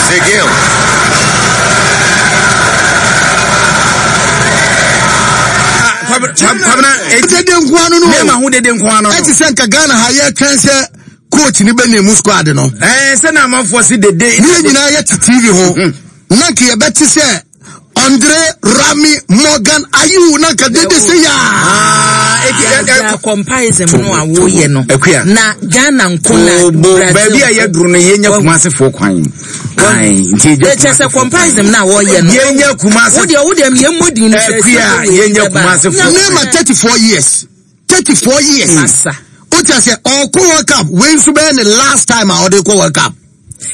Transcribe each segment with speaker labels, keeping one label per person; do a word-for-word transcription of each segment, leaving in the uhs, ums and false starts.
Speaker 1: Sig
Speaker 2: Kwabena
Speaker 3: dede nkoa no no
Speaker 2: Neymar ho dede nkoa no.
Speaker 3: Ɛte sɛ nka Ghana ha yɛtwɛn sɛ coach ni bɛ name squad no.
Speaker 2: Ɛɛ sɛ na amanfoɔ si dede.
Speaker 3: Ne yɛn nyinaa yɛte T V ho na nka yɛbɛte sɛ Andre Rami Morgan Ayew, na nka dede sɛ yaa.
Speaker 4: Yà comparison no a woyɛ no.
Speaker 2: Akua.
Speaker 4: Na Ghana nko na
Speaker 2: Bo
Speaker 4: Brazil.
Speaker 2: Baabi a yɛduru no, yɛnya Kumasefoɔ kwan. Ayi, nti yɛgya
Speaker 4: Kyɛ sɛ comparison na wɔyɛ no.
Speaker 2: Yɛnya Kumase.
Speaker 4: Wodeɛ wodeɛ yɛn mmɔ din no sɛ
Speaker 2: Akua, yɛnya Kumasefoɔ.
Speaker 3: Neymar, thirty four years, thirty four years.
Speaker 4: Masa.
Speaker 3: O ti a sɛ ɔkɔ World Cup wei nso bɛyɛ ne last time a ɔde kɔ World Cup.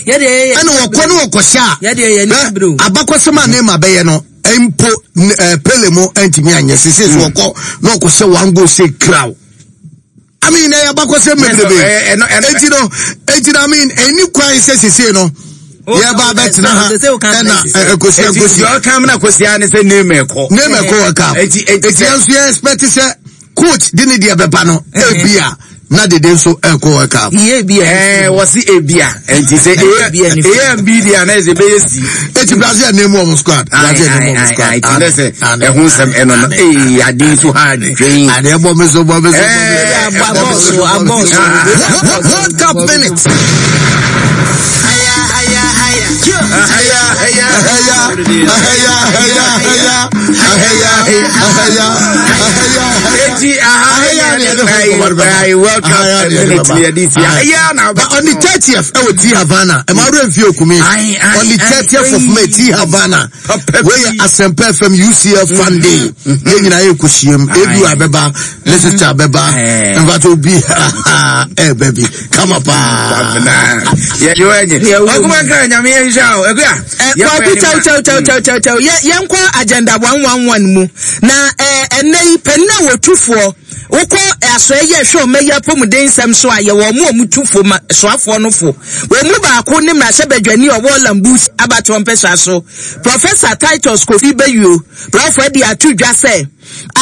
Speaker 4: Yɛdeɛ yɛ
Speaker 3: Ɛna wɔkɔ ne wɔkɔhyɛ a
Speaker 4: Yɛdeɛ yɛ
Speaker 3: bɛ
Speaker 4: ni bro.
Speaker 3: abakɔsɛm a Neymar bɛyɛ no mpo ɛɛ Pele mo ɛntumi anyɛ sese so. Ɔkɔ na ɔkɔhyɛ one goal say kraw, I mean, ɛyɛ abakɔsɛm bebrebe.
Speaker 2: Ɛ- ɛno- ɛno-
Speaker 3: eti no eti no I mean, ɛni kwan sɛ sese no yɛba abɛtena ha
Speaker 4: Sese wo kan
Speaker 3: ɛna
Speaker 4: Messi.
Speaker 3: ɛ- ɛkɔsia
Speaker 2: Eti
Speaker 3: nkosia.
Speaker 2: deɛ ɔka mu na kosia ne sɛ Neymar kɔ.
Speaker 3: Neymar kɔ World Cup.
Speaker 2: Eti eti
Speaker 3: Eti yɛn nso yɛ expect sɛ coach de ne deɛ bɛba no, ebi a na dede nso ɛkɔ World Cup.
Speaker 4: Yie bi a.
Speaker 2: Ɛɛ wɔsi ebia nti sɛ
Speaker 4: Ebia
Speaker 2: A
Speaker 4: ne
Speaker 2: A and B deɛ ana ɛsɛ bɛyɛ C.
Speaker 3: Eti Brazil name wɔn squad. Brazil name wɔn squad.
Speaker 2: Ayi, ayi, ayi, sɛ ɛho nsɛm ɛno no ee ade nso ha dwen.
Speaker 3: Adeɛ bɔ mi so, bɔ mi so, bɔ mi so.
Speaker 2: Eh,
Speaker 4: Abɔ so, abɔ so.
Speaker 3: World Cup minutes.
Speaker 2: Aya aya
Speaker 3: Ɛhɛya, ɛhɛya, ɛhɛya, ɛhɛya, ɛhɛya, ɛhɛya.
Speaker 2: Eti aha
Speaker 3: Ahaya ne yɛde ho nkɔmmɔ no bɛba.
Speaker 2: ayi, World Cup
Speaker 3: Ahaya ne yɛde
Speaker 2: minute
Speaker 3: bɛba.
Speaker 2: ni yɛde si aya na
Speaker 3: But on the thirtieth, ɛwɔ T Havana, ɛma awura nfi okumi.
Speaker 2: Aye, aye,
Speaker 3: On the
Speaker 2: aye,
Speaker 3: thirtieth of May, T Havana.
Speaker 2: Papa
Speaker 3: Wey yɛ Asɛmpa F M U C L Fun Day. Yɛn nyinaa yɛ kɔhyia mu. Edu abɛba, ne sister abɛba.
Speaker 2: Eh.
Speaker 3: Nfa obi ɛɛbɛ bi kama paa.
Speaker 2: Yɛ yɛ ɛnyɛ ɔkuma nkira Nyame yɛn nhyɛ o, Ekuya.
Speaker 4: Kwaku, kyɛw kyɛw kyɛw kyɛw kyɛw kyɛw, yɛ yɛnkɔ Agenda one one one mu na ɛɛ ɛnɛ yi panin a wɔtufoɔ wokɔ asɔe yɛ hwɛ ɔma yi apɔmuden nsɛm so a yɛwɔ ɔmo a ɔmo tu fo ma soafoɔ no fo. Wɔn mu baako ne mmarahyɛbadwani a ɔwɔ Lambus abatoɔ mpɛsua so, Professor Titus Kofi Beyuo. Brɔfo de ato dwa sɛ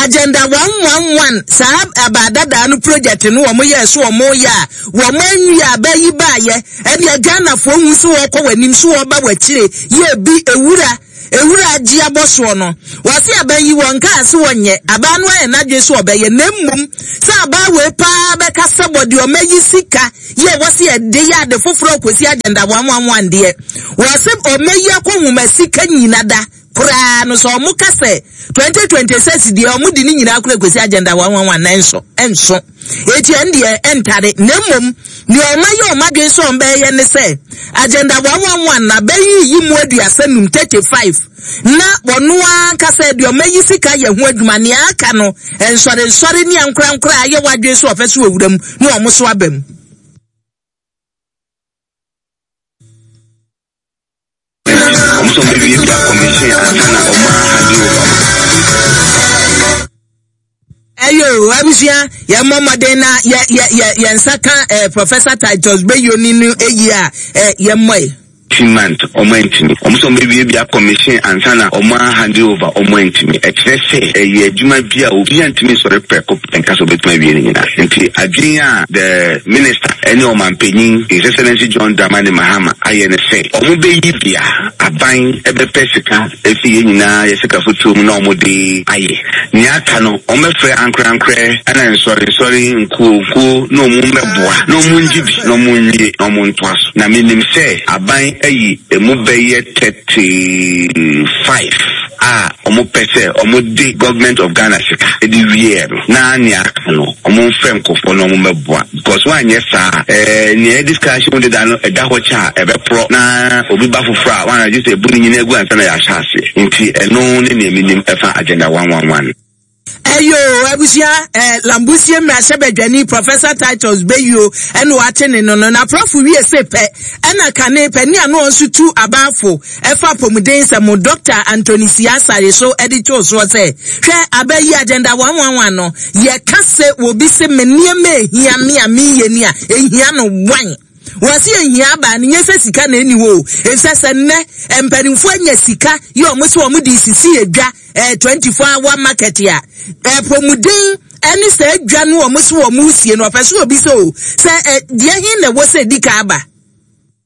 Speaker 4: Agenda one one one, saa abaadadaa no project no, wɔn yɛ so wɔn yɛ a wɔn anwi a bɛyi baayɛ ɛdeɛ Ghanafoɔ hu so wɔkɔ wɔn anim so wɔba wɔn akyire yɛ bi ewura ewura agye abɔ soɔ no. Wɔsi aban yi wɔn kaa so wɔnyɛ abaa no ayɛ n'adwene so ɔbɛyɛ, na mmom sɛ abaa wei paa bɛka sɛ wɔde ɔma yi sika yɛ wɔsi ɛde yɛ ade foforɔ kɔsi Agenda one one one deɛ, wɔsi ɔma yi akɔ nwoma sika nyina da koraa no sɛ ɔmo ka sɛ twenty twenty six deɛ ɔmo di ne nyinaa kora kɔsi Agenda one one one na nso ɛnso eti ɛn deɛ ɛntare. Na mmom nea ɔma yɛ ɔma adwene sɛ ɔmo bɛyɛ ne sɛ Agenda one one one na bɛyi yi mu aduasa num, thirty five, na ɔno ankasa deɛ ɔma yi sika yɛ ho adwuma. Nea aka no, nsɔre nsɔre ne ankorankora a ayɛ wadwene so ɔpɛ so wɔ wura mu na ɔmo so aba mu.
Speaker 1: Ɔmo sɛ ɔmo bɛwiawia commission ansa na ɔmo ahand over.
Speaker 4: Ɛyò, abusua, yɛn mmɔ mmɔden na yɛ yɛ yɛ yɛn nsa ka ɛɛ Professor Titus Beyoni no eyi a ɛɛ yɛn mmɔ yi.
Speaker 1: Month ɔmo antumi. Ɔmo sɛ ɔmo bɛwiawia commission ansa na ɔmo ahand over, ɔmo antumi. Ɛkyerɛ sɛ ɛyɛ adwuma bi a obi antumi nsɔre prɛko pɛ nka sɛ ɔbɛtumi awie no nyinaa. Nti adwene a the minister ɛne ɔmanpanyin, His Excellency John Dramani Mahama, ayɛ ne sɛ ɔmo bɛyi bia aban ɛbɛpɛ sika efi yɛn nyinaa yɛ sika fotuo mu na ɔmo de ayɛ. Nea aka no, ɔmo bɛfrɛ ankorankorɛ ɛna nsɔre nsɔre, nkuo nkuo, na ɔmo mbɛboa na ɔmo ngye bi na ɔmo nwie na ɔmo ntoa so. Na menim sɛ aban ayi emu bɛyɛ thirty five a ɔmo pɛ sɛ ɔmo de Government of Ghana sika ɛde wie no, na nea aka no, ɔmo nfrɛ nkɔfoɔ na ɔmo mbɛboa, because wɔanyɛ saa, ɛɛ nea yɛde sika ahyɛ mu deda no ɛda hɔ kyɛ a ɛbɛporɔ na obi ba foforɔ a wɔn agye sɛ ebu ne nyinaa egu ansa na yɛahyɛ aseɛ. Nti ɛno ne nea menim ɛfa Agenda one one one.
Speaker 4: Ɛyo, abusua, ɛɛ Lambusie mmarahyɛbadwani Professor Titus Beyuo ɛna wate ne no no na prɔfo wie se pɛ ɛna kane panin a no nso tu abaafo ɛfa apɔmuden sɛm, Doctor Anthony Siasare, so ɛde to soɔ sɛ hwɛ abɛyi Agenda one one one no, yɛka sɛ obi sɛ me nneɛma ehia me a meyɛ ni a ehia no wan wɔsi ehia aba no nyɛ sɛ sika na eni hɔ o, efisɛ sɛ nnɛ mpanimfoɔ anya sika yɛ ɔmo sɛ ɔmo de sisi edwa ɛɛ twenty four hour market a ɛpɔmuden ɛne sɛ edwa no ɔmo so ɔmo sie no, ɔpɛ so obi sɛ o sɛ ɛ deɛ hin na ɛwɔ sɛ edi ka aba.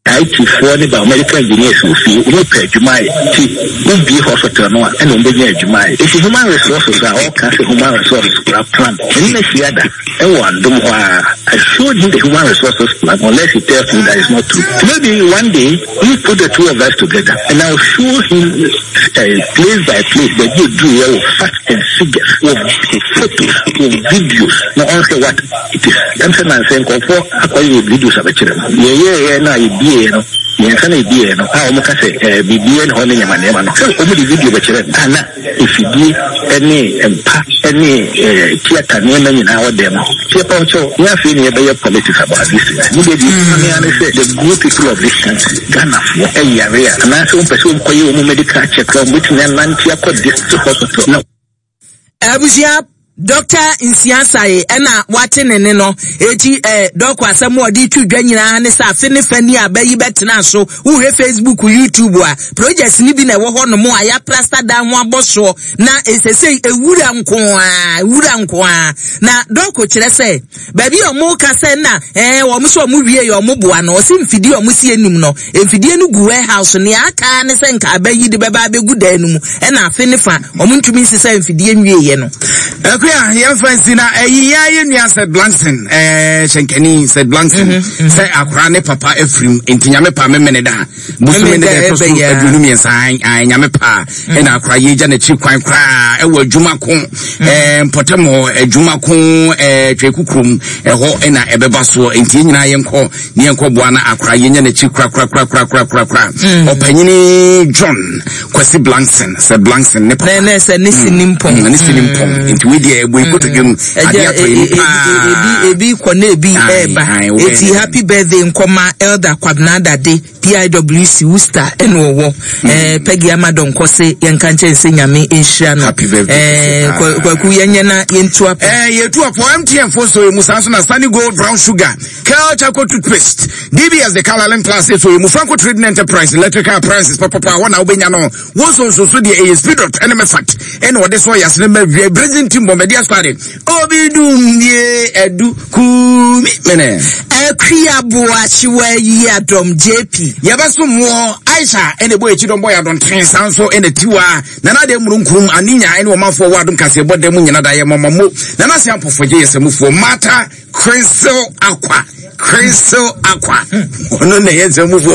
Speaker 1: I T foɔ ne biomedical engineers wɔ fie, wɔn pɛ adwuma ayɛ, ti wobie hospital no a, ɛna wɔn bɛnya adwuma ayɛ. Esi human resources a ɔka sɛ human resources kura plan ɛne na hyia da ɛwɔ Adom hɔ a, I showed him the human resources plan, unless he tells me that is not true. Maybe one day we put the two of us together and I will show him uh, place by place baabi oduru yɛ wɔ facts and figures, wɔ photos, wɔ videos, na ɔnhwɛ what it is. Ɛm sɛ nansɛ nkɔfoɔ akɔyɛ videos abɛkyerɛ no, yɛyɛɛyɛ no a, yɛbieɛ no mmiɛnsa na yɛbieɛ no a, wɔn ka sɛ ɛɛ biribiara ne hɔ ne nneɛma nneɛma no sɛ wɔn de video bɛkyerɛ no a, na efidie ne mpa ne ɛɛ theatre nneɛma nyinaa wɔ dɛm hɔ. Tiɛ pa ɔkyɛw ne afei ne yɛbɛyɛ politics about this thing ne deɛ deɛ ne ano sɛ the good people of this country, Ghanafoɔ ɛyare a, anaasɛ wɔn pɛ sɛ wɔn kɔyɛ wɔn medical check a, wɔn bɛtumi anante akɔ district hospital na
Speaker 4: Abusua, Doctor Nsiasae ɛna wate ne ne no eti ɛ dɔkɔ asɛm a ɔde tu dwa nyinaa ne sɛ afe ne fa ni a bɛyi bɛtena so. Wohwɛ Facebook, YouTube a, projects ni bi na ɛwɔ hɔ nom a yɛaplaster dan ho abɔ soɔ na esese ewura nko a, ewura nko a. Na dɔkɔ kyerɛ sɛ baabi a ɔmo ka sɛ na ɛɛ wɔn sɛ ɔmo wie yɛ ɔmo boa no, ɔsi mfidie a ɔmo si anim no, mfidie no gu warehouse. Nea aka ne sɛ nka abɛyi de bɛba abɛgu dan no mu, ɛna afe ne fa ɔmo ntumi nsesa mfidie nwie yɛ no.
Speaker 2: Akuya, yɛmfa nsi na ɛyi yɛn ayɛ nua sɛ Blankson, ɛɛ hyɛnkani sɛ Blankson sɛ akora ne papa afirim, nti Nyame pa memene da bosome ne da ɛtɔ so aduonu mmiɛnsa. Ae, Nyame pa ɛna akora yɛgya n'akyi kwan koraa ɛwɔ adwuma ko ɛɛ mpɔtam hɔ, adwuma ko ɛɛ Twɛku kurom ɛhɔ ɛna ɛbɛba soɔ. Nti yɛn nyinaa yɛnkɔ ne yɛnkɔ boa na akora yɛnya n'akyi korakorakorakorakorakora. Ɔpanyini John Kwasi Blankson sɛ Blankson ne papa.
Speaker 4: Ne sɛ ne si ne mpɔn.
Speaker 2: Ne si ne mpɔn, nti wei deɛ ɛbɔ ekotodwe mu adeɛ atɔ yɛn paa.
Speaker 4: Ebi ebi kɔ na ebi ɛɛba. Eti happy birthday nkɔma Elder Kwabena Dade, P I W C Worcester, ɛna ɔwɔ ɛɛ Peggy Amadon kɔse yɛnka nkyɛn sɛ Nyame nhyira no.
Speaker 2: Happy birthday.
Speaker 4: Ɛɛ Kwaku, yɛnyɛ na yɛntu apɔ.
Speaker 2: Ɛɛ yɛtu apɔ. M T N fo so emu saa nso na Sunny Gold brown sugar, Kel charcoal toothpaste, D B S the Colour Plus so emu, Franco Trading Enterprise electrical appliances papapa hɔ na wobɛnya no. Wɔn nso nso so deɛ ɛyɛ Speedot ɛne Mɛfat ɛna wɔde so ɔyɛ asene ma wia Brazil team bɔmɛdi asɔre obi dum die ɛdu kumi mene.
Speaker 4: Akua Boakyewa yi adɔm J P.
Speaker 2: Yɛbɛso mmoɔ Aisha ɛna ɛbɔ akyi dɔm bɔ yɛ adɔnten saa nso ɛna Tiwa Nana de mmurunkum aninya ɛne ɔmanfoɔ wɔ Adom kaseɛ bɔ dɛm mu nyina da yɛ mɔmɔ mo Nana se ampɔfɔgye yɛ sɛmufoɔ Mata Crystal Aqua, Crystal Aqua, ɔno na ɛyɛ nsɛmufoɔ.